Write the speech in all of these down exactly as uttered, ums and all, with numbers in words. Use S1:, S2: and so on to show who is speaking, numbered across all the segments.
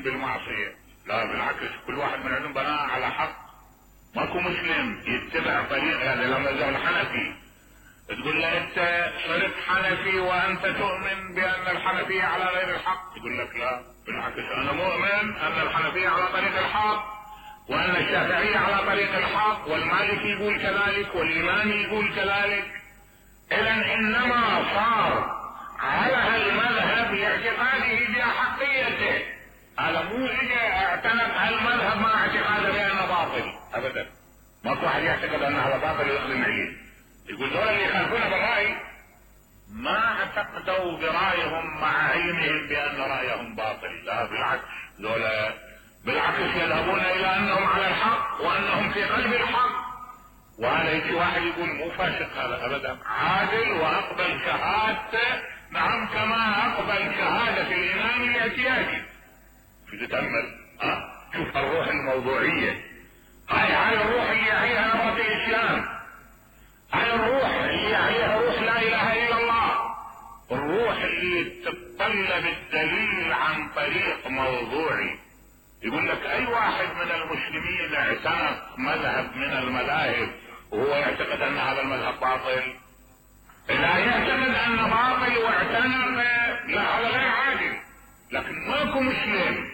S1: بالمعصية، لا بالعكس، كل واحد من عندهم بناء على حق. ماكو مسلم يتبع طريق هذا. يعني لما زال الحنفي تقول له انت صرت حنفي وانت تؤمن بان الحنفية على غير الحق، يقول لك لا بالعكس، انا مؤمن ان الحنفية على طريق الحق، وان الشافعية على طريق الحق، والمالكي يقول كذلك، والامامي يقول كذلك. اذا انما صار على المذهب لاعتقاده باحقيته، هذا مو اجى اعتنق المذهب مع اعتقاده بانه باطل ابدا. ماكو واحد يعتقد ان هذا باطل ويقدم عليه. يقول دول اللي يخالفون بالراي ما اعتقدوا برايهم مع علمهم بان رايهم باطل، لا بالعكس، دول بالعكس يذهبون الى انهم على الحق وانهم في قلب الحق. وهذا يجي واحد يقول مو فاسق هذا ابدا، عادل واقبل شهادته، نعم، كما اقبل شهادة الامام الاعتيادي. في تتأمل ها شوف الروح الموضوعية، هاي هاي الروح اللي يعيها نبات الاسلام، هاي الروح اللي يعيها روح لا اله الا الله، الروح اللي تتطلب الدليل عن طريق موضوعي. يقول لك اي واحد من المسلمين اعتنق مذهب من المذاهب وهو يعتقد ان هذا المذهب باطل، اذا يعتقد ان باطل واعتنق، لا هذا غير عادل. لكن ماكو مسلم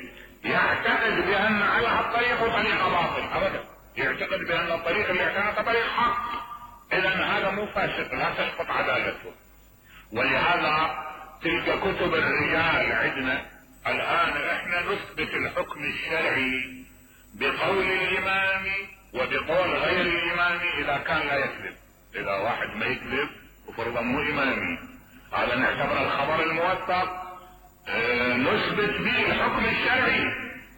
S1: يعتقد بان على هالطريق طريقه باطل ابدا، يعتقد بان الطريق اللي اعتنق طريق حق. اذا هذا مو فاسق، لا تسقط عدالته. ولهذا تلك كتب الرجال عندنا الان احنا نثبت الحكم الشرعي بقول الامام وبقول غير الامام اذا كان لا يكذب. اذا واحد ما يكذب وفرضا مو امامي، هذا نعتبر الخبر الموثق، اه نثبت به الحكم الشرعي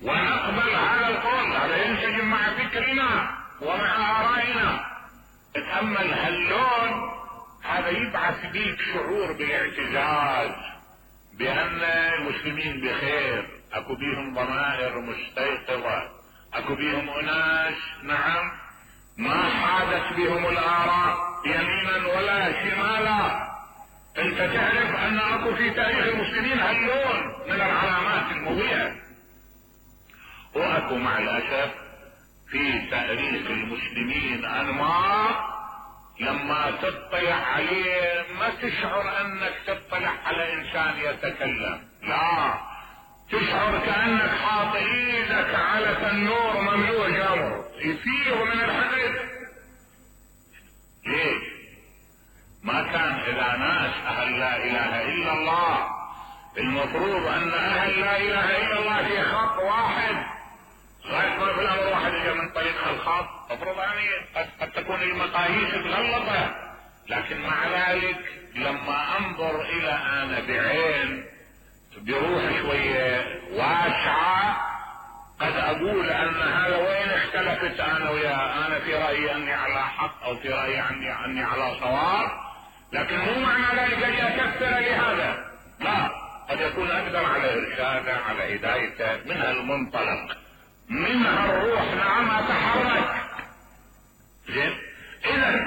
S1: ونقبل هذا القول، هذا ينسجم مع فكرنا ومع ارائنا. اتأمل هاللون، هذا يبعث بيك شعور بالاعتزاز بان المسلمين بخير، اكو بيهم ضمائر مستيقظة، اكو بيهم اناس نعم ما حادت بهم الاراء يمينا ولا شمالا. انت تعرف ان اكو في تاريخ المسلمين هاللون من العلامات المضيئة، واكو مع الاسف في تاريخ المسلمين انماط لما تطلع عليه ما تشعر انك تطلع على انسان يتكلم، لا تشعر كأنك حاط ايدك على تنور مملوء جمر يفيض من الحدث. ليش؟ ما كان اذا ناس اهل لا اله الا الله، المفروض ان اهل لا اله الا الله في خط واحد، غاية ما في الامر واحد يجي من طريق الخط، مفروض يعني قد تكون المقاييس مغلطة. لكن مع ذلك لما انظر الى انا بعين بروح شوية واسعة قد اقول ان هذا وين اختلفت انا وياه، انا في رأيي اني على حق او في رأيي اني, أني على صواب، لكن مو معنى ذلك ان يكفر لهذا، لا، قد يكون اقدر على ارشاده على هدايته من هالمنطلق، منها الروح نعم اتحرك. زين، اذا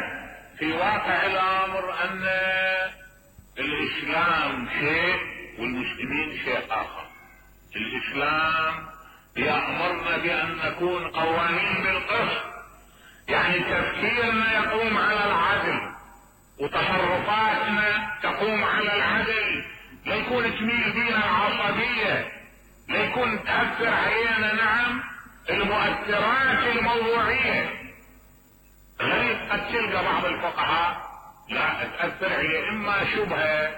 S1: في واقع الامر ان الاسلام شيء والمسلمين شيء اخر. الاسلام يأمرنا بان نكون قوانين بالقسط، يعني تفكيرنا يقوم على العدل وتصرفاتنا تقوم على العدل، لا يكون تميل بينا العصبية، لا يكون تأثر علينا نعم المؤثرات الموضوعية. غير قد تلقى بعض الفقهاء لا تأثر عليه اما شبهة،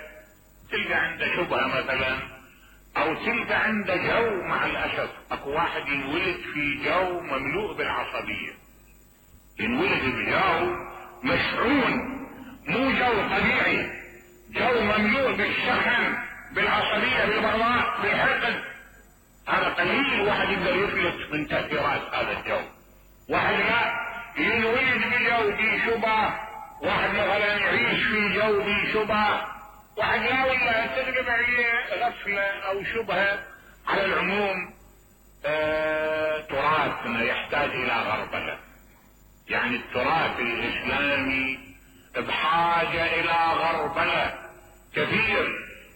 S1: تلقى عنده شبهة مثلا، او تلقى عنده جو. مع الاسف اكو واحد ينولد في جو مملوء بالعصبية، ينولد بجو مشحون، مو جو طبيعي، جو مملوء بالشحن بالعصبية بالبغضاء بالحقد. هذا قليل واحد يقدر يفلت من تأثيرات هذا الجو. واحد لا ينولد بجو بي شبه، واحد مثلا يعيش في جو بي شبه، واحد لا ولا تلقى عليه غفلة او شبهة. على العموم آه تراثنا يحتاج الى غربلة، يعني التراث الاسلامي بحاجة الى غربلة كثير.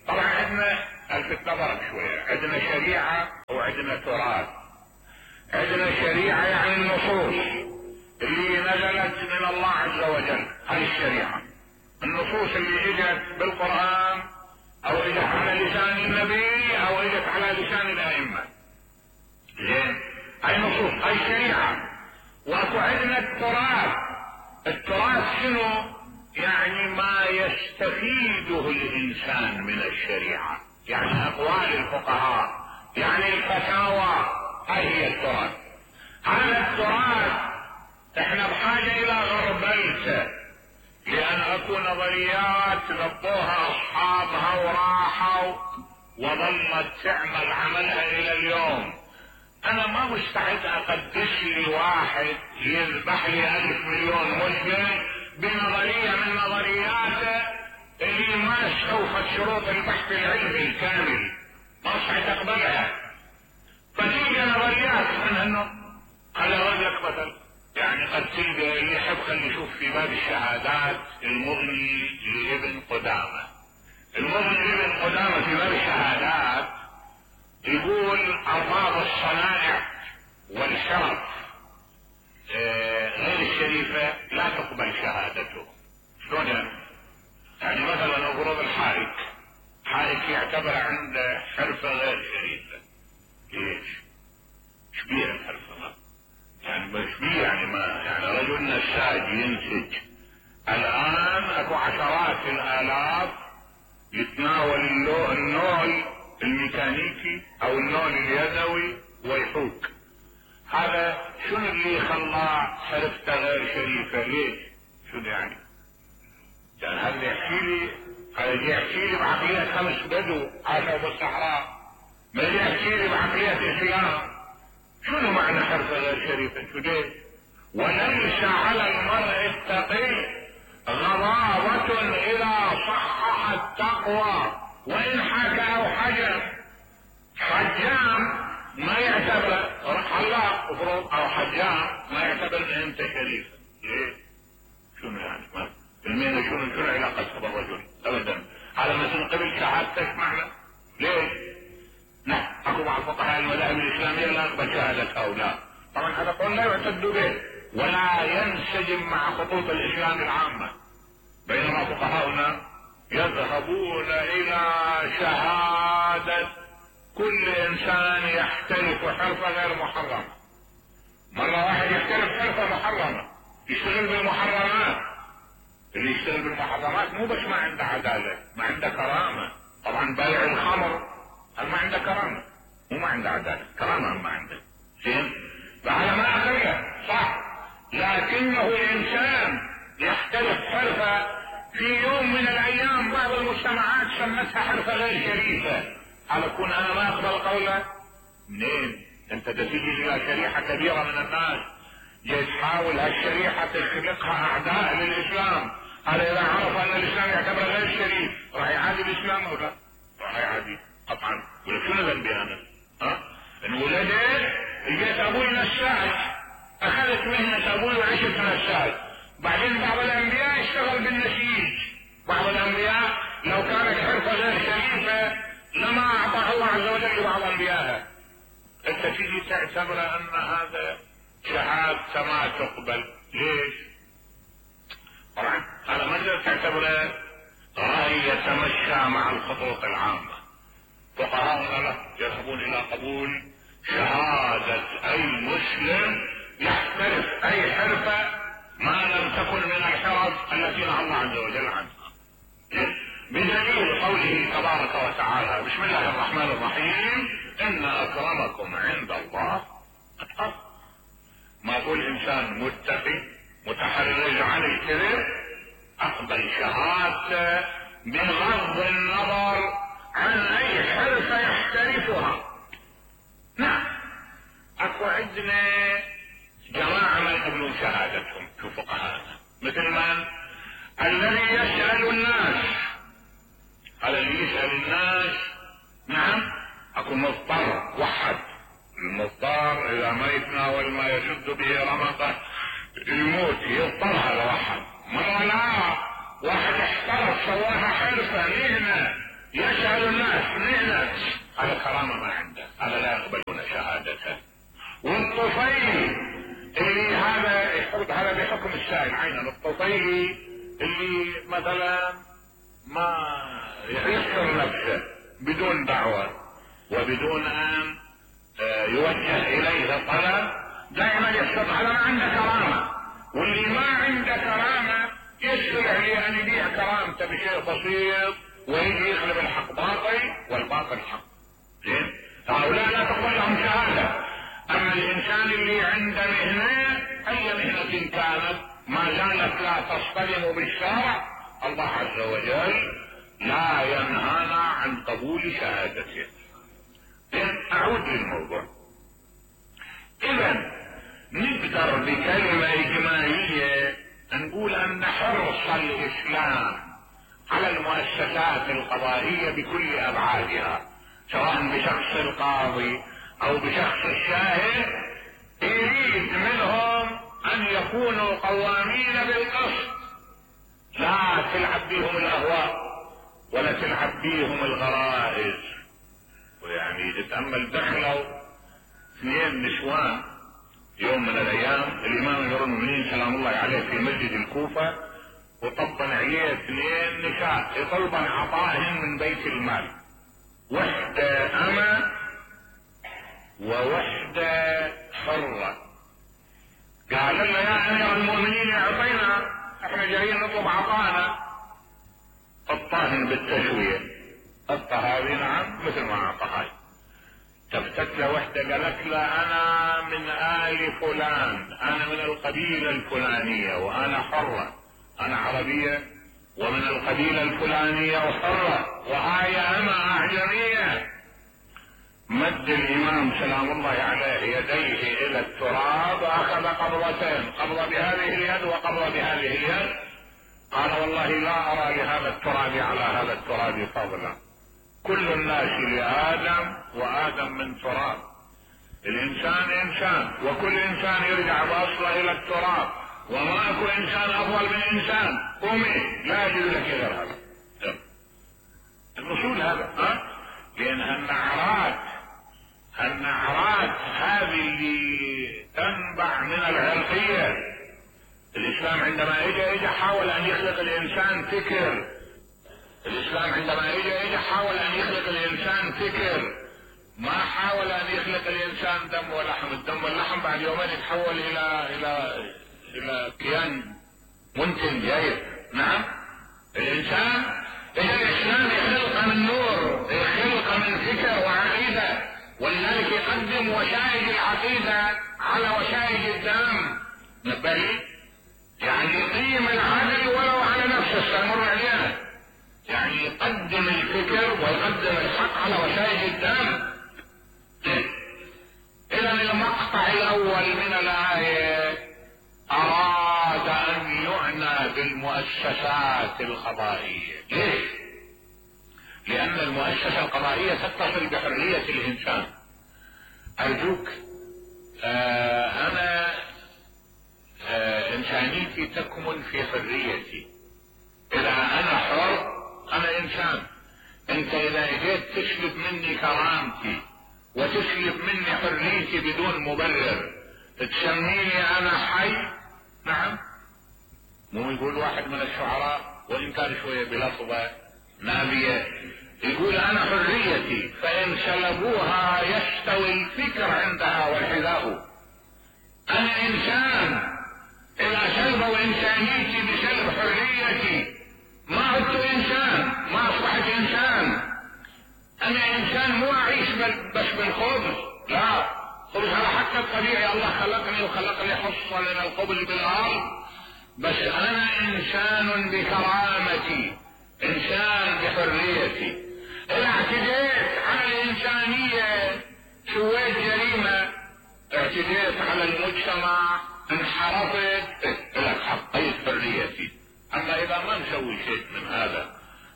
S1: طبعا عندنا الفت نظرك شوية. عندنا شريعة وعندنا تراث. عندنا شريعة يعني النصوص اللي نزلت من الله عز وجل، هذه الشريعة. النصوص اللي اجت بالقرآن او اجت على لسان النبي او اجت على لسان الائمة. زين، هاي نصوص، هاي شريعة. واكو عندنا التراث. التراث شنو؟ يعني ما يستفيده الانسان من الشريعة، يعني اقوال الفقهاء، يعني الفتاوى، هاي هي التراث. هذا التراث احنا بحاجة الى غربلته، لان اكو نظريات ضبطوها اصحابها وراحوا وظلت تعمل عملها الى اليوم. انا ما مستعد اقدس لي واحد يذبح لي الف مليون مسلم بنظرية من نظرياته اللي ما استوفت شروط البحث العلمي الكامل، ما مستعد اقبلها. فتيجي نظريات من انه على وجهك مثل، يعني قد تلقى اللي يحب خلي يشوف في باب الشهادات المغني لابن قدامة. المغني لابن قدامة في باب الشهادات يقول ارباب الصنائع والحرف غير الشريفة لا تقبل شهادته. شلون يعني؟ مثلا افرض الحائك، حائك يعتبر عنده حرفة غير شريفة. ليش؟ شبيه الحرفة؟ يعني مش بيه، يعني ما يعني رجل نساج ينسج. الان اكو عشرات الالاف يتناول النول الميكانيكي او النول اليدوي ويحوك. هذا شنو اللي خلاه حرفته غير شريفة؟ ليش؟ شنو يعني؟ يعني هذا يحكي لي، هذا يحكي لي بعقلية خمس بدو عاشوا بالصحراء، ما يحكي لي بعقلية الاسلام. شنو معنى حرفة غير شريفة؟ شو ليش؟ وليس على المرء التقي غضاضة اذا صحح التقوى وان حكى او حجم. حجام ما يعتبر حلاق افرض او حجام ما يعتبر ان انت شريف. ليه؟ شنو يعني؟ ما المين شنو شنو علاقتها بالرجل؟ ابدا. على ما تنقبل شهادتك معنى؟ ليش؟ لا، اكو بعض فقهاء المذاهب الاسلاميه لا نقبل شهاده هؤلاء. طبعا هذا قول لا يعتد به ولا ينسجم مع خطوط الاسلام العامه. بينما فقهاؤنا يذهبون الى شهاده كل انسان يحترف حرفة غير محرمة. مرة واحد يحترف حرفة محرمة يشتغل بالمحرمات. اللي يشتغل بالمحرمات مو بس ما عنده عدالة، ما عنده كرامة. طبعا بائع الخمر هل ما عنده كرامة؟ مو ما عنده عدالة، كرامة ما عنده. زين؟ فهذا ما أخرجه صح، لكنه الانسان يحترف حرفة في يوم من الايام بعض المجتمعات سمتها حرفة غير شريفة. على كون انا ما اقبل قوله. منين؟ انت تجي الى شريحة كبيرة من الناس جاي تحاول هالشريحة تخلقها اعداء للاسلام. هذا اذا عرف ان الاسلام يعتبر غير شريف راح يعادي الاسلام او لا؟ راح يعادي طبعا. يقول شنو ذنبي انا؟ ها؟ ان ولدي جيت ابوي نساج، اخذت مهنة ابوي وعشت نساج. بعدين بعض الانبياء اشتغل بالنسيج. بعض الانبياء لو كانت حرفة غير شريفة لما اعطاه الله عز وجل لبعض انبيائه. انت تيجي تعتبر ان هذا شهادة ما تقبل. ليش؟ طبعا هذا ما تقدر تعتبره رأي يتمشى مع الخطوط العامة. فقهاؤنا لا يذهبون الى قبول شهادة اي مسلم يحترف اي حرفة ما لم تكن من الحرف التي نهى الله عز وجل عنها. بدليل قوله تبارك وتعالى بسم الله الرحمن الرحيم ان اكرمكم عند الله اتقاكم. ما يقول انسان متقي متحرج عن الكذب اقبل شهادته بغض النظر عن اي حرفة يحترفها. نعم اكو عندنا جماعة ما يقبلون شهادتهم في فقهاءنا، مثل من الذي يسأل الناس. هذا اللي يسأل الناس نعم اكو مضطر وحد. المضطر اذا ما يتناول ما يشد به رمقه يموت، يضطر هذا واحد. مرة لا واحد احترف سواها حرفة مهنة يسأل الناس نحن على كرامة ما عنده، هذا لا يقبلون شهادته. والطفيلي اللي هذا يحط هذا بحكم السائل عينا، الطفيلي اللي مثلا ما يحصر نفسه بدون دعوة وبدون ان يوجه اليه الطلب، دائما يحصر هذا ما عنده كرامة. واللي ما عنده كرامة يسرع لان يبيع كرامته بشيء بسيط ويجي يغلب الحق باطل والباطل حق. زين؟ هؤلاء لا تقبل لهم شهادة. اما الانسان اللي عنده مهنة اي مهنة كانت ما زالت لا تصطدم بالشرع، الله عز وجل لا ينهانا عن قبول شهادته. اعود للموضوع. اذا نقدر بكلمة اجمالية نقول ان حرص الاسلام على المؤسسات القضائية بكل ابعادها، سواء بشخص القاضي او بشخص الشاهد، يريد منهم ان يكونوا قوامين بالقسط، لا تلعب بيهم الاهواء ولا تلعب بيهم الغرائز. ويعني تتأمل دخلوا اثنين نسوان يوم من الايام الامام امير المؤمنين سلام الله عليه في مسجد الكوفة، وطبن عليه اثنين نساء يطلبن عطائهن من بيت المال، وحدة أما ووحدة حرة. قال لنا يا امير المؤمنين اعطينا، احنا جايين نطلب عطانا. الطاهن بالتسوية الطهاوي نعم مثل ما اعطى هاي. تفتت له وحدة قالت له انا من آل فلان، انا من القبيلة الفلانية وانا حرة، انا عربية ومن القبيلة الفلانية وحرة، وهاي اما اعجمية. مد الامام سلام الله عليه يديه الى التراب واخذ قبضتين، قبضة بهذه اليد وقبضة بهذه اليد. قال والله لا ارى لهذا التراب على هذا التراب فضلا، كل الناس لآدم وآدم من تراب، الانسان انسان وكل انسان يرجع باصله الى التراب، وما اكو انسان افضل من انسان. قومي لا يجوز لك غير هذا الوصول هذا. ها لان النعرات النعرات هذه اللي تنبع من العرقية. الاسلام عندما اجى اجى حاول ان يخلق الانسان فكر، الاسلام عندما اجى اجى حاول ان يخلق الانسان فكر، ما حاول ان يخلق الانسان دم ولحم. الدم واللحم بعد يومين يتحول الى الى الى كيان منتن جيد. نعم الانسان اجى الاسلام يخلق من نور، يخلق من فكر وعقيدة، ولذلك يقدم وشائج العقيدة على وشائج الدم. نبهي يعني يقيم العدل ولو على نفسه سنمر عليها، يعني يقدم الفكر ويقدم الحق على وشائج الدم. اذا المقطع الاول من الايه اراد ان يعنى بالمؤسسات القضائية. ليش؟ لان المؤسسة القضائية تتصل بحرية الانسان. ارجوك آه انا آه انسانيتي تكمن في حريتي. اذا انا حر انا انسان. انت اذا اجيت تسلب مني كرامتي وتسلب مني حريتي بدون مبرر تسميني انا حي؟ نعم. مو يقول واحد من الشعراء وان كان شوية بلفظة نابية، يقول انا حريتي فان سلبوها يستوي الفكر عندها والحذاء. انا انسان، اذا سلبوا انسانيتي بسلب حريتي ما عدت انسان، ما اصبحت انسان. انا انسان مو اعيش بس بالخبز، لا، خبز هذا حتى الطبيعي، الله خلقني وخلق لي حصة من القبل بالارض، بس انا انسان بكرامتي، انسان بحريتي. اذا اعتديت على الانسانية سويت جريمة، اعتديت على المجتمع، انحرفت، لك حقيت حريتي. اما اذا ما نسوي شيء من هذا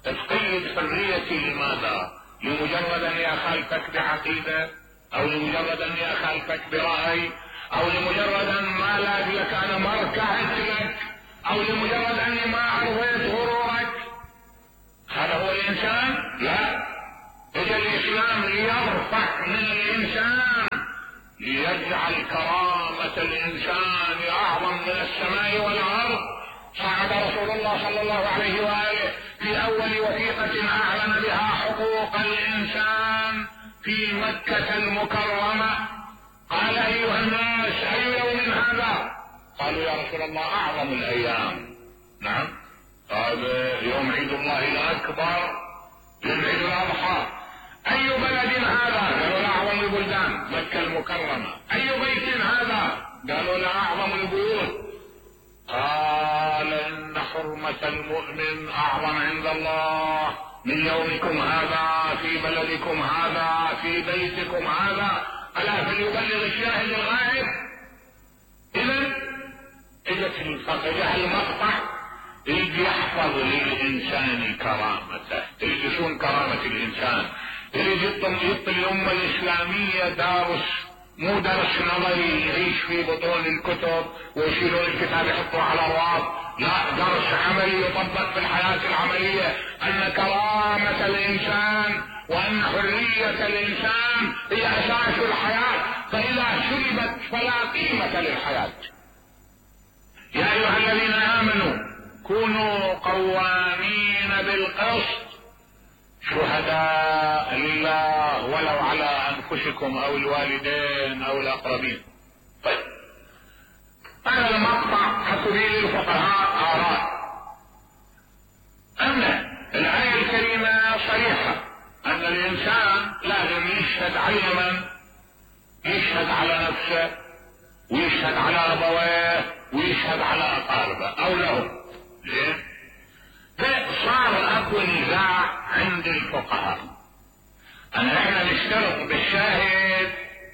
S1: تقيد حريتي لماذا؟ لمجرد اني اخالفك بعقيدة، او لمجرد اني اخالفك برأي، او لمجرد ان ما لاقي لك انا ما ركعت لك، او لمجرد اني ما عرضيت غرورك. هذا هو الانسان؟ لا، اجى الاسلام ليرفع من الانسان، ليجعل كرامة الانسان اعظم من السماء والارض. صعد رسول الله صلى الله عليه وآله في اول وثيقة اعلن بها حقوق الانسان في مكة المكرمة، قال ايها الناس اي يوم هذا؟ قالوا يا رسول الله اعظم الايام. نعم، قال يوم عيد الله الاكبر، يوم عيد الاضحى. اي بلد هذا؟ قالوا لا اعظم البلدان، مكة المكرمة. اي بيت هذا؟ قالوا لا اعظم البيوت. قال ان حرمة المؤمن اعظم عند الله من يومكم هذا في بلدكم هذا في بيتكم هذا، الا فليبلغ الشاهد الغائب. اذا اجت الفقه المقطع اللي يحفظ للانسان كرامته، اللي يصون كرامة الانسان، اللي يطل الامة الاسلامية دارس، مو درس نظري يعيش في بطون الكتب ويشيلون الكتاب يحطوه على الرواق، لا، درس عملي يطبق في الحياة العملية، ان كرامة الانسان وان حرية الانسان هي اساس الحياة، فاذا سلبت فلا قيمة للحياة. يا ايها الذين امنوا كونوا قوامين بالقسط شهداء لله ولو على انفسكم او الوالدين او الاقربين. طيب، هذا المقطع حسب الفقهاء آراء. أما الآية الكريمة صريحة أن الإنسان لازم يشهد على من؟ يشهد على نفسه ويشهد على أبويه ويشهد على أقاربه أو له. ليه؟ فصار أكو نزاع عند الفقهاء أن احنا نشترط بالشاهد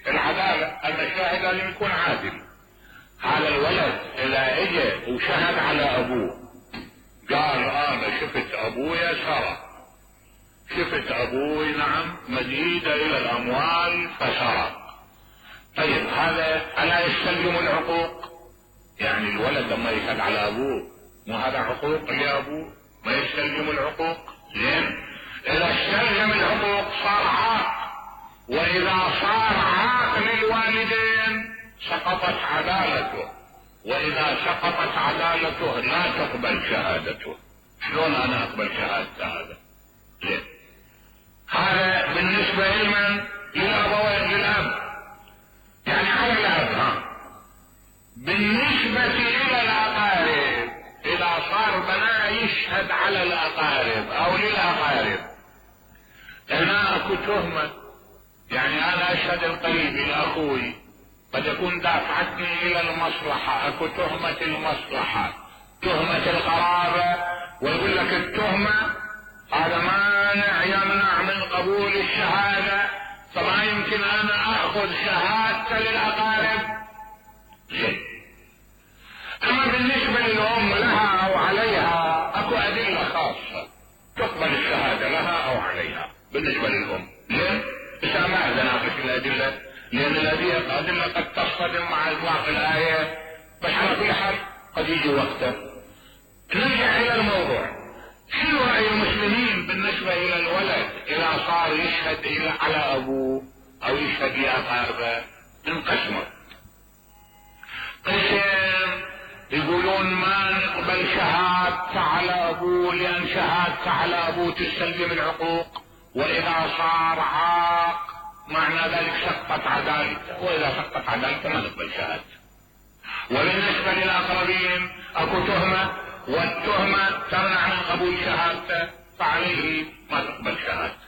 S1: العدالة، أن الشاهد لازم يكون عادل. هذا الولد إذا اجى وشهد على أبوه قال أنا شفت أبويا سرق، شفت أبوي نعم مزيد إلى الأموال فسرق، طيب هذا ألا يستلزم العقوق؟ يعني الولد لما يشهد على أبوه مو هذا عقوق لأبوه؟ ما يستلزم العقوق؟ لين إذا استلزم العقوق صار عاق، وإذا صار عاق للوالدين سقطت عدالته، وإذا سقطت عدالته لا تقبل شهادته. شلون أنا أقبل شهادة هذا؟ ليه؟ هذا بالنسبة لمن؟ للأبوين، للأب، يعني على الأب. ها بالنسبة إلى الأقارب، إذا صار بناء يشهد على الأقارب أو للأقارب، هنا أكو تهمة، يعني أنا أشهد القريب لأخوي قد يكون دافعتني الى المصلحة، اكو تهمة المصلحة، تهمة القرابة، ويقول لك التهمة هذا مانع يمنع من قبول الشهادة، فما يمكن انا اخذ شهادة للاقارب. زين. اما بالنسبة للام لها او عليها اكو ادلة خاصة تقبل الشهادة لها او عليها بالنسبة للام. ليه؟ اذا ما ناقش الادلة، لأن الأدلة قد تصطدم مع إطلاق الآية، بس على كل حال قد يجي وقته. نرجع إلى الموضوع، شنو رأي المسلمين بالنسبة إلى الولد إذا صار يشهد إلى على أبوه أو يشهد لأقاربه؟ انقسموا. قسم يقولون ما نقبل شهادة على أبوه لأن شهادة على أبوه تستلزم العقوق، وإذا صار عاق معنى ذلك سقطت عدالته، واذا سقطت عدالته ما نقبل شهادته. وبالنسبه للاقربين اكو تهمه، والتهمه تمنع من قبول شهادته، فعليه ما تقبل شهادته.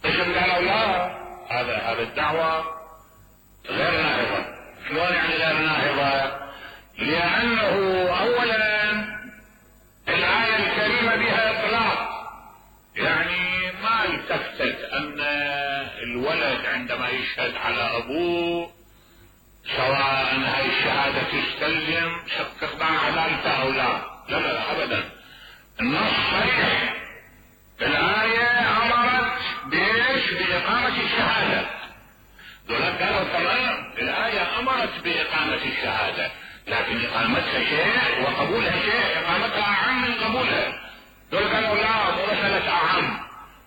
S1: قسم قالوا لا، هذا هذا الدعوه غير ناهضه. شلون يعني غير ناهضه؟ لانه اولا الايه الكريمه بها اطلاق، يعني ما التفتت ان الولد عندما يشهد على ابوه سواء هاي الشهادة تستلزم استقطاع عدالته او لا، لا لا ابدا. النص صريح، الآية امرت بايش؟ باقامة الشهادة. دول قالوا تمام، الآية امرت باقامة الشهادة، لكن اقامتها شيء وقبولها شيء، اقامتها اعم من قبولها. دول قالوا لا، مو مسألة اعم،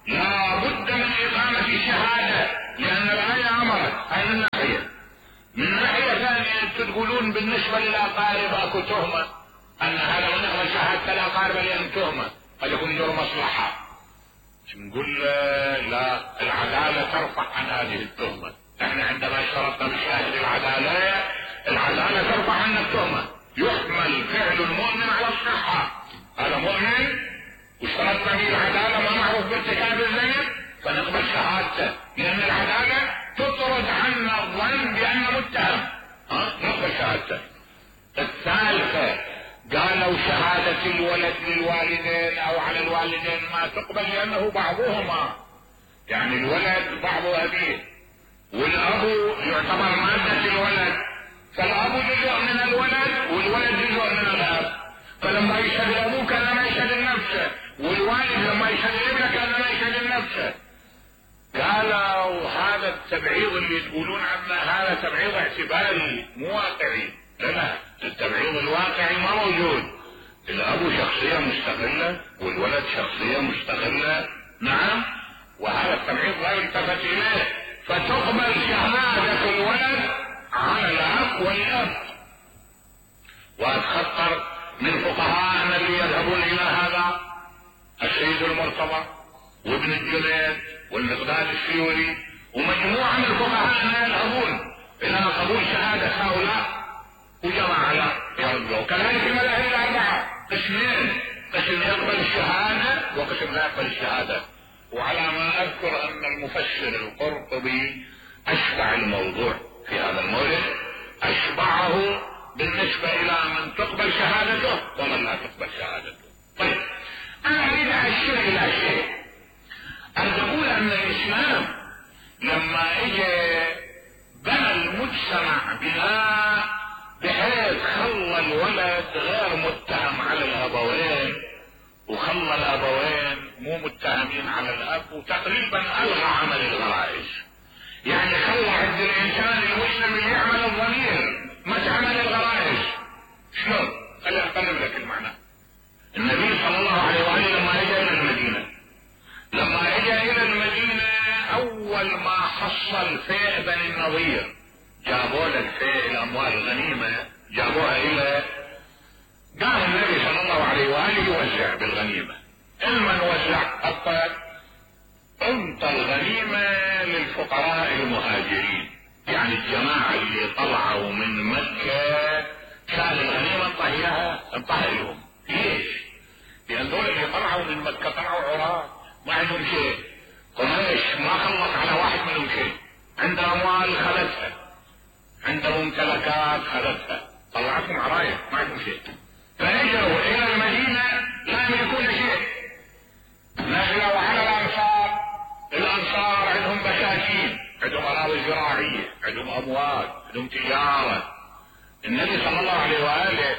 S1: لا بد من اقامة الشهادة، لان الآية امرت. هاي من ناحية. من ناحية ثانية تقولون بالنسبة للاقارب اكو تهمة، ان هذا من اقبل شهادة الاقارب لان تهمة قد يكون له مصلحة. نقول لا، العدالة ترفع عن هذه التهمة. احنا عندما اشترطنا بشاهد العدالة، العدالة ترفع عن التهمة. يحمل فعل المؤمن على الصحة، هذا مؤمن واشترطنا به العدالة ما معروف بارتكاب الزين فنقبل شهادته، لان العدالة تطرد عنا الظن بانه متهم، ها نقبل شهادته. الثالثة قالوا شهادة الولد للوالدين او على الوالدين ما تقبل، لانه بعضهما يعني الولد بعض ابيه، والاب يعتبر مادة الولد، فالاب جزء من الولد والولد جزء من الاب، فلما يشهد ابوه كان ما يشهد النفس، والوالد لما يشهد ابنه كان ما يشهد النفس. قالوا هذا التبعيض اللي تقولون عنه هذا تبعيض اعتباري مو واقعي. لا، التبعيض الواقعي ما موجود. الاب شخصية مستقلة والولد شخصية مستقلة، نعم، وهذا التبعيض لا يلتفت اليه، فتقبل شهادة الولد على الاب والاب. واتخطر من فقهاءنا اللي يذهبون الى هذا السيد المرتضى وابن الجنيد والمقداد السيوري ومجموعة من الفقهاء يذهبون الى قبول شهادة هؤلاء وجماعة لا يرجعوا. كذلك المذاهب الاربعة قسمين، قسم يقبل الشهادة وقسم لا يقبل الشهادة. وعلى ما اذكر ان المفسر القرطبي اشبع الموضوع في هذا المورد، اشبعه بالنسبة الى من تقبل شهادته ومن لا تقبل شهادته. طيب انا اريد اشير الى شيء، ان تقول ان الاسلام لما اجى بنى المجتمع بناء بحيث خلى الولد غير متهم على الابوين وخلى الابوين مو متهمين على الاب، وتقريبا الغى عمل الغرائز. يعني خلى عند الانسان المسلم اللي يعمل الضمير ما تعمل الغرائز. شلون؟ خليني اقلب لك المعنى. النبي صلى الله عليه وآله لما اجى الى المدينة لما اجى الى المدينة اول ما حصل فيء بني النضير، جابوا له الفيء الاموال الغنيمة جابوها الى، قام النبي صلى الله عليه وآله يوزع بالغنيمة. المن وزع الطيب انت الغنيمة للفقراء المهاجرين، يعني الجماعة اللي طلعوا من مكة كان الغنيمة انطهيها انطهي لهم. ليش؟ لان دول اللي طلعوا من مكة طلعوا عراة ما عندهم شيء، قريش ما خلص على واحد منهم شيء، عنده اموال خذتها، عنده ممتلكات خذتها، طلعتهم عراية ما عندهم شيء، فاجوا الى المدينة لا يملكون شيء. نزلوا على الانصار، الانصار عندهم بساتين، عندهم اراضي زراعية، عندهم اموال، عندهم تجارة. النبي صلى الله عليه وآله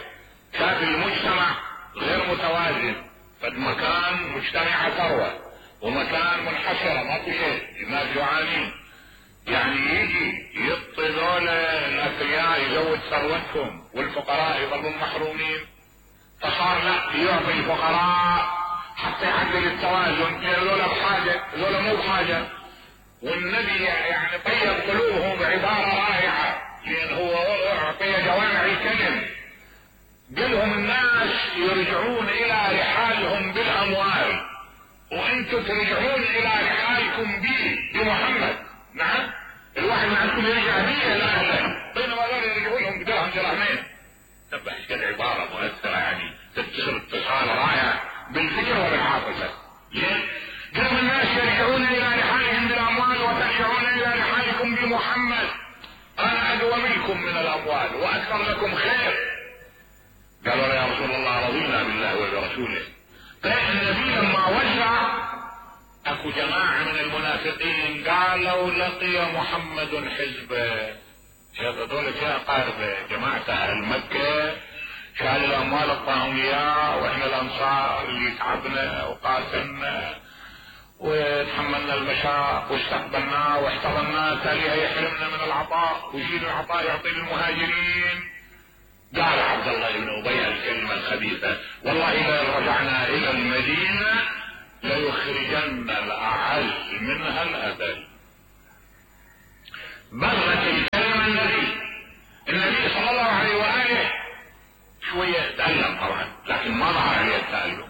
S1: شاف المجتمع غير متوازن، فالمكان مجتمع ثروة ومكان منحسرة ما في شيء، الناس جوعانين، يعني يجي يعطي ذول الاثرياء يزود ثروتهم والفقراء يظلون محرومين، فصار لا يعطي الفقراء حتى يعدل التوازن، ذولا بحاجة ذولا مو بحاجة. والنبي يعني طيب قلوبهم بعبارة رائعة، لان هو اعطي جوامع الكلم، قالهم الناس يرجعون الى رحالهم بالاموال وانتم ترجعون الى رحالكم بي بمحمد. نعم، الواحد من عندكم يرجع بي لاهله بينما ذول يرجعون لهم بدرهم درهمين. تبع ايش قد عبارة مؤثرة، يعني تتصل اتصال رائع بالفكر وبالعاطفة. ليه؟ قالوا الناس يرجعون الى رحالهم بالاموال وترجعون الى رحالكم بمحمد، انا ادوى منكم من الاموال واكثر لكم خير. قالوا يا رسول الله رضينا بالله وبرسوله. فالنبي لما وزع اكو جماعة من المنافقين قالوا لقي محمد حزبه، هذول يا قاربه جماعة اهل مكة شال الاموال اعطاهم اياه، واحنا الانصار اللي تعبنا وقاتلنا وتحملنا المشاق واستقبلناه واحتضناه، تاليها يحرمنا من العطاء ويشيل العطاء يعطي للمهاجرين. قال عبد الله بن ابي الكلمة الخبيثة: والله اذا رجعنا الى المدينة ليخرجن الاعز منها الاذل. بلغت الكلمة النبي النبي صلى الله عليه واله شوية تألم طبعا، لكن ما ظهر عليه التألم.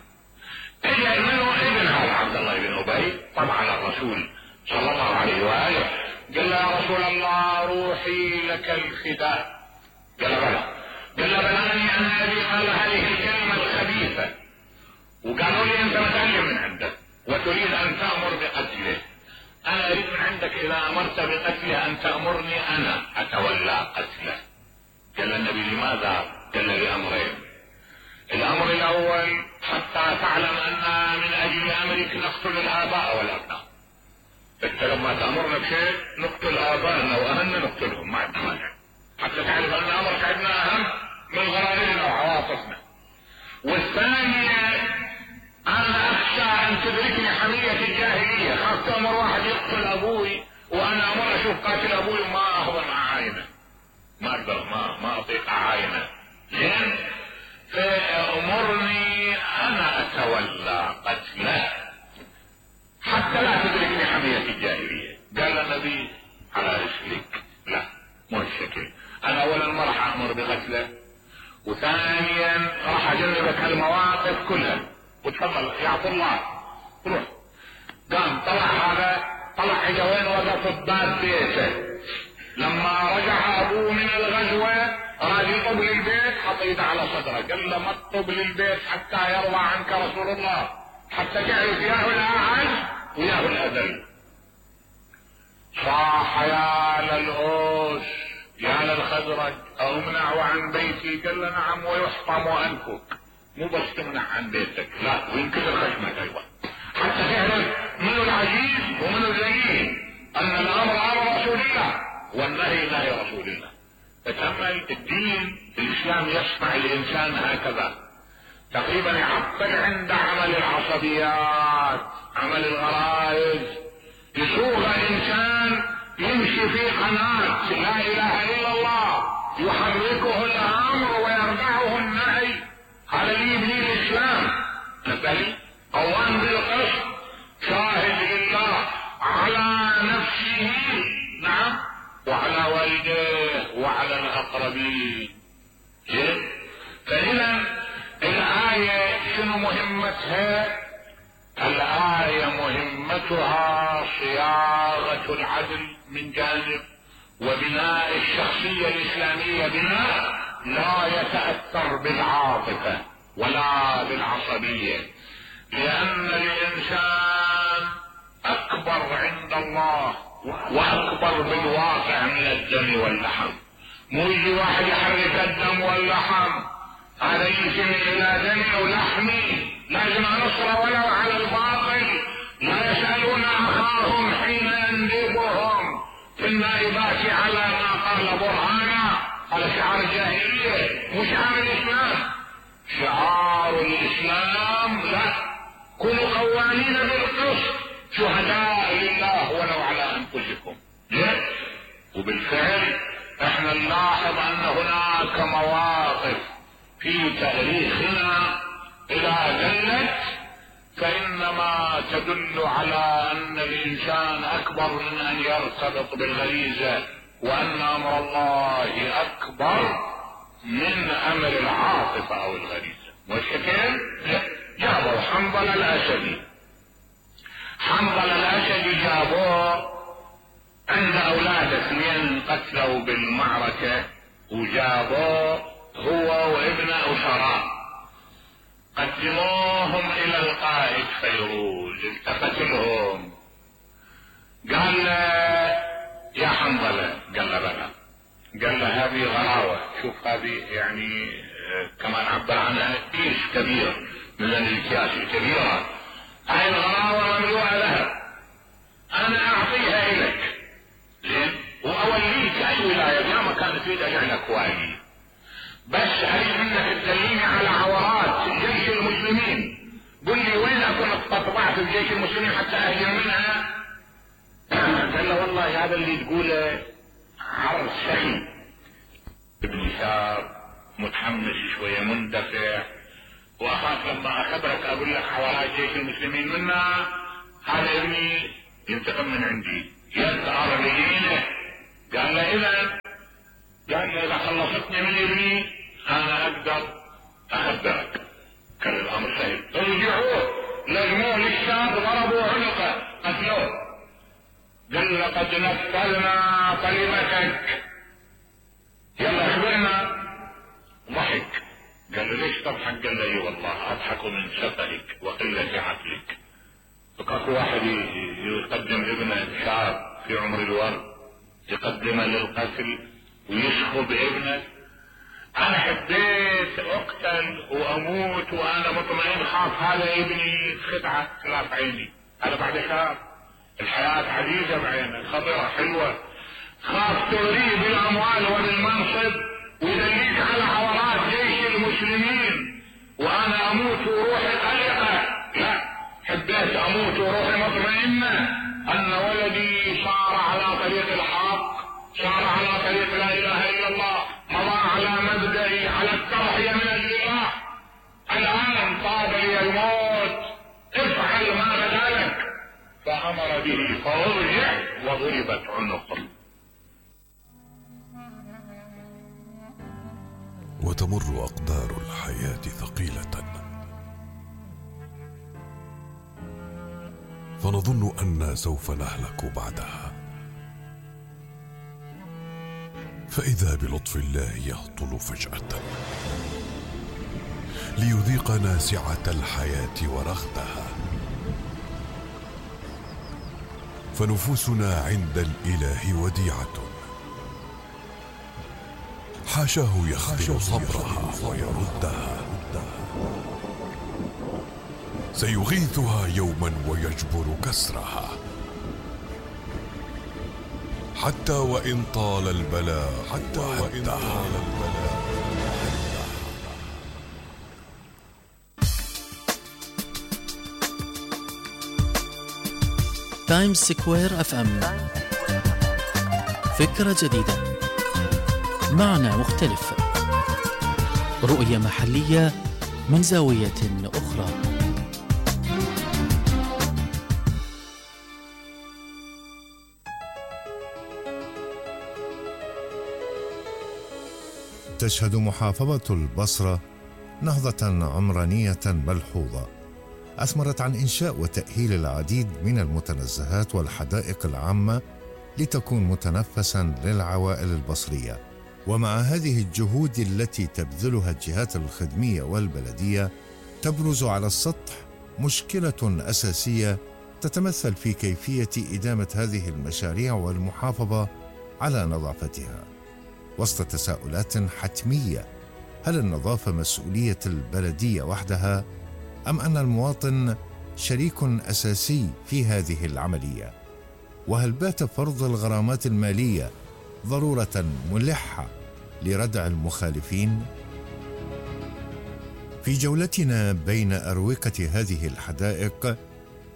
S1: اجى منه ابن هذا عبد الله بن ابي طبعا الرسول صلى الله عليه واله، قال له: يا رسول الله روحي لك الفداء. قال له: بلى. قال له: بلغني ان ابي قال هذه الكلمة الخبيثة، وقالوا لي انت متألم من عندك وتريد ان تأمر بقتله. انا اريد من عندك اذا امرت بقتله ان تأمرني انا اتولى قتله. قال النبي: لماذا؟ قال له: لامرين. الامر الاول حتى تعلم ان من اجل امرك نقتل الاباء والابناء. انت لما تامرنا بشيء نقتل ابائنا واهلنا نقتلهم، ما عندنا مانع، حتى تعرف ان امرك عندنا اهم من غرائزنا وعواطفنا. والثانية انا اخشى ان تدركني حمية الجاهلية، خاف تامر واحد يقتل ابوي وانا امر اشوف قاتل ابوي وما اهضم عاينة، ما اقدر ما ما اطيق عاينة. زين، فامرني انا اتولى قتله حتى لا تدركني حمية الجاهلية. قال النبي: على رسلك، لا مو الشكل، انا اولا ما راح امر بقتله، وثانيا راح اجنبك هالمواقف كلها، وتفضل يا عبد الله روح. قام طلع هذا، طلع اجا وين؟ وقف بباب بيته. لما رجع ابوه من الغزوة راد يطب للبيت، حط ايده على صدره، قال له: ما تطب للبيت حتى يرضى عنك رسول الله، حتى تعرف ياه الاعز وياه الاذل. صاح: يا للأوس يا للخزرج امنع عن بيتي. قال له: نعم ويحطم انفك، مو بس تمنع عن بيتك، لا وينكسر خشمك ايضا، حتى تعرف منو العزيز ومنو الذليل، ان الامر امر رسول الله والنهي نهي رسول الله. تتأمل الدين الاسلام يصنع الانسان هكذا، تقريبا يعطل عند عمل العصبيات، عمل الغرائز، يسوغ انسان يمشي في قناة لا اله الا الله يحركه الامر ويرفعه النهي. هذا اللي يبني الاسلام. نبهي قوام بالقسط، شاهد لله على نفسه، نعم، وعلى والديه وعلى الاقربين. زين، فاذا الآية شنو مهمتها؟ الآية مهمتها صياغة العدل من جانب، وبناء الشخصية الإسلامية بناء لا يتأثر بالعاطفة ولا بالعصبية، لأن الإنسان أكبر عند الله وأكبر بالواقع من الدم واللحم. مو يجي واحد يحرك الدم واللحم، هذا يمكن الى دم ولحمي، لازم نصر ولو على الباطل. لا يسألون اخاهم حين يندبهم في النائبات على ما قال برهانا. هذا شعار الجاهلية مو شعار الاسلام. شعار الاسلام لا، كونوا قوامين بالقسط شهداء لله ولو على انفسكم. وبالفعل احنا نلاحظ ان هناك مواقف في تاريخنا اذا دلت فانما تدل على ان الانسان اكبر من ان يرتبط بالغريزة، وان امر الله اكبر من امر العاطفة او الغريزة. والشكل جابوا حنظل الاسدي، حنظل الاسدي جابوه عند اولاده اثنين قتلوا بالمعركة، وجابوه هو وابن اسراء، قدموهم الى القائد فيروز، التفت لهم قال له: يا حنظلة. قال له: بلى. قال له: هذه غراوة، شوف هذه يعني كمان عبر عنها كيس كبير من الاكياس الكبيرة، هاي الغراوة مملوءة لها، انا اعطيها اليك زين واوليك اي ولاية، يا ما كانت تريد اجعلك والي، بس اريد منك تدليني على عورات جيش المسلمين، قل لي وين اكون استطبعت في جيش المسلمين حتى اهجر منها. قال له: والله هذا اللي تقوله عرض سخي. ابن شاب متحمس شوية مندفع، واخاف لما اخبرك اقول لك حوالات جيش المسلمين منا هذا ابني ينتقم من عندي يسأل بدينه. قال له اذا قال له اذا خلصتني من ابني انا اقدر اخبرك. كان الامر سهل. رجعوه لجموه للشام ضربوا عنقه قتلوه. قال لقد نفذنا كلمتك يلا اخبرنا. ضحك. قال له ليش تضحك؟ قال له اي والله اضحك من سفهك وقلة عقلك. فكاكو واحد يقدم ابنه شاب في عمر الورد يقدمه للقتل ويشخب ابنه. انا حبيت اقتل واموت وانا مطمئن خاف هذا ابني خدعة خلاف عيني. هذا بعد خاف الحياة عزيزة بعينه خضرة حلوة. خاف تغريه بالاموال وبالمنصب ويدليك على حوارات جيش المسلمين وانا اموت وروحي قلقة. لا، حبيت اموت وروحي مطمئنة ان ولدي صار على طريق الحق، صار على طريق لا اله الا الله، مضى على مبدئي على التضحية من اجل الله. الان طاب لي الموت، افعل ما بدالك. فامر به فارجع وضربت عنقه.
S2: وتمر أقدار الحياة ثقيلة، فنظن أننا سوف نهلك بعدها، فإذا بلطف الله يهطل فجأة ليذيقنا سعة الحياة ورغدها. فنفوسنا عند الإله وديعة، حاشاه يخذل صبرها ويردها، سيغيثها يوما ويجبر كسرها، حتى وإن طال البلاء حتى وإن طال البلاء.
S3: تايمز سكوير اف ام، فكرة جديدة، معنى مختلف، رؤية محلية من زاوية أخرى.
S4: تشهد محافظة البصرة نهضة عمرانية ملحوظة أثمرت عن إنشاء وتأهيل العديد من المتنزهات والحدائق العامة لتكون متنفساً للعوائل البصرية. ومع هذه الجهود التي تبذلها الجهات الخدمية والبلدية تبرز على السطح مشكلة أساسية تتمثل في كيفية إدامة هذه المشاريع والمحافظة على نظافتها، وسط تساؤلات حتمية: هل النظافة مسؤولية البلدية وحدها أم أن المواطن شريك أساسي في هذه العملية؟ وهل بات فرض الغرامات المالية ضرورة ملحة لردع المخالفين؟ في جولتنا بين أروقة هذه الحدائق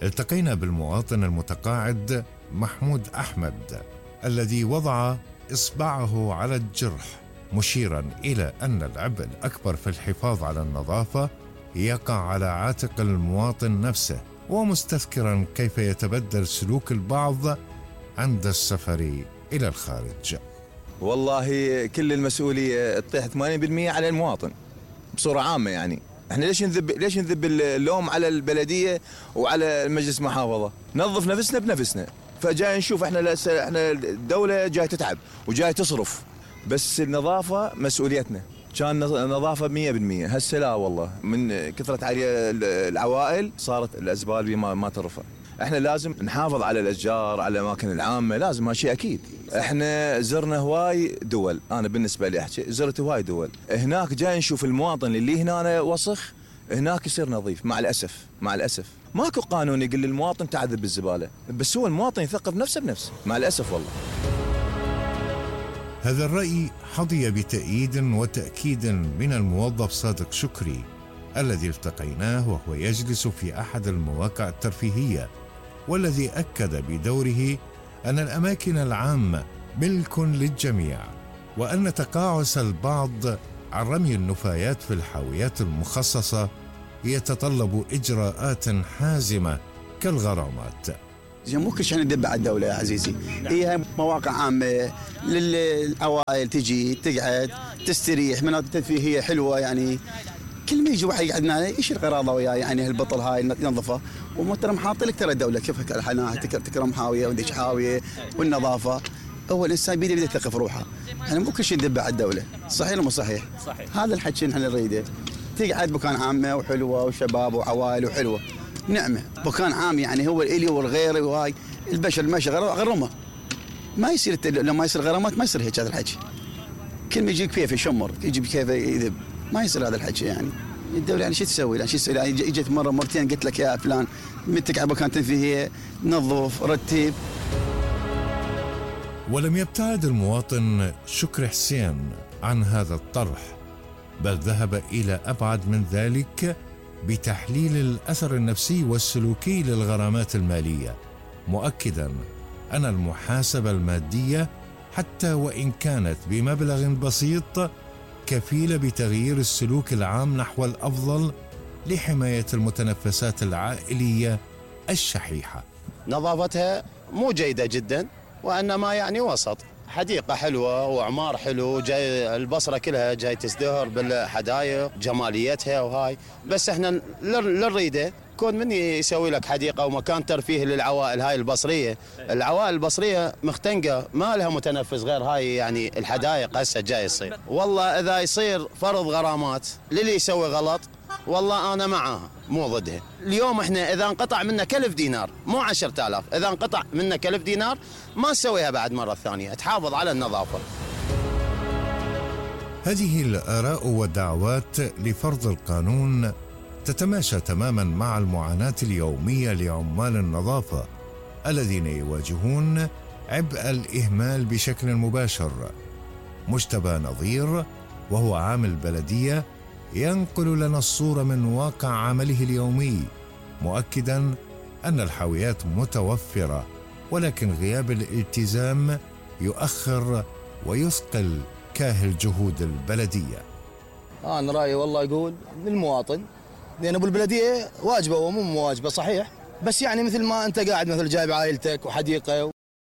S4: التقينا بالمواطن المتقاعد محمود أحمد الذي وضع إصبعه على الجرح، مشيرا إلى أن العبء الأكبر في الحفاظ على النظافة يقع على عاتق المواطن نفسه، ومستذكرا كيف يتبدل سلوك البعض عند السفر إلى الخارج.
S5: والله كل المسؤولية تطيح ثمانين بالمئة على المواطن بصورة عامة. يعني احنا ليش نذب ليش نذب اللوم على البلدية وعلى المجلس محافظة؟ نظف نفسنا بنفسنا. فجاي نشوف احنا احنا الدولة جاي تتعب وجاي تصرف، بس النظافة مسؤوليتنا. كان نظافة مية بالمية، هسه لا والله، من كثرة علي العوائل صارت الأزبال ما ما ترفع. احنا لازم نحافظ على الأشجار، على الأماكن العامة، لازم هالشيء أكيد. احنا زرنا هواي دول، أنا بالنسبة لي أحكي زرت هواي دول، هناك جاي نشوف المواطن اللي هنا وسخ هناك يصير نظيف. مع الأسف مع الأسف ماكو قانون يقول للمواطن تعذب بالزبالة، بس هو المواطن يثقف نفسه بنفسه مع الأسف والله.
S4: هذا الرأي حظي بتأييد وتأكيد من الموظف صادق شكري الذي التقيناه وهو يجلس في أحد المواقع الترفيهية، والذي أكد بدوره أن الأماكن العامة ملك للجميع، وأن تقاعس البعض عن رمي النفايات في الحاويات المخصصة يتطلب إجراءات حازمة كالغرامات.
S6: زين مو كل شيء ندب على الدولة يا عزيزي، هي مواقع عامة للعوائل تجي تقعد تستريح، مناطق ترفيهية حلوة يعني. كل ما يجي واحد يقعدنا يشيل قراضه وياه يعني هالبطل هاي ينظفه، ومحترم حاط لك ترى الدولة كيف الحناح تكرم حاوية وديش حاوية والنظافة. أول إنسان بيده بيده يثقف روحه، يعني مو كل شيء ندب على الدولة، صحيح ولا مو صحيح؟ صحيح. هذا الحكي نحن نريده، تقعد مكان عامة وحلوة وشباب وعوائل وحلوة، نعمة مكان عام يعني هو الإلي والغير وهاي البشر ماشي غرمة، ما يصير لما يصير غرامات ما يصير هيك هذا الحكي. كل ما يجيك كيف يشمر يجي كيف يذب، ما يصير هذا الحكي يعني. الدولة يعني شو تسوي؟ يعني شو تسوي؟ يعني اجت مرة مرتين قلت لك يا فلان متك على مكان تنفيذية نظف رتب.
S4: ولم يبتعد المواطن شكري حسين عن هذا الطرح، بل ذهب إلى أبعد من ذلك بتحليل الأثر النفسي والسلوكي للغرامات المالية، مؤكداً أن المحاسبة المادية حتى وإن كانت بمبلغ بسيط كفيلة بتغيير السلوك العام نحو الأفضل لحماية المتنفسات العائلية الشحيحة.
S7: نظافتها مو جيدة جدا، وإنما يعني وسط، حديقة حلوة وعمار حلو، جاي البصرة كلها جاي تزدهر بالحدائق جماليتها وهاي، بس احنا للريدة كون من يسوي لك حديقة ومكان ترفيه للعوائل هاي البصرية. العوائل البصرية مختنقة ما لها متنفس غير هاي يعني الحدائق هسه جاي يصير. والله إذا يصير فرض غرامات للي يسوي غلط والله أنا معاها مو ضدها. اليوم احنا إذا انقطع منا كلف دينار مو عشرة آلاف، إذا انقطع منا كلف دينار ما تسويها بعد مرة ثانية، تحافظ على النظافة.
S4: هذه الآراء والدعوات لفرض القانون تتماشى تماما مع المعاناة اليومية لعمال النظافة الذين يواجهون عبء الإهمال بشكل مباشر. مجتبى نظير وهو عامل بلدية ينقل لنا الصورة من واقع عمله اليومي، مؤكدا أن الحاويات متوفرة، ولكن غياب الالتزام يؤخر ويثقل كاهل جهود البلدية.
S8: أنا رأيي والله يقول للمواطن، لأن أبو البلدية واجبة ومو مواجبة صحيح، بس يعني مثل ما أنت قاعد مثل جايب عائلتك وحديقة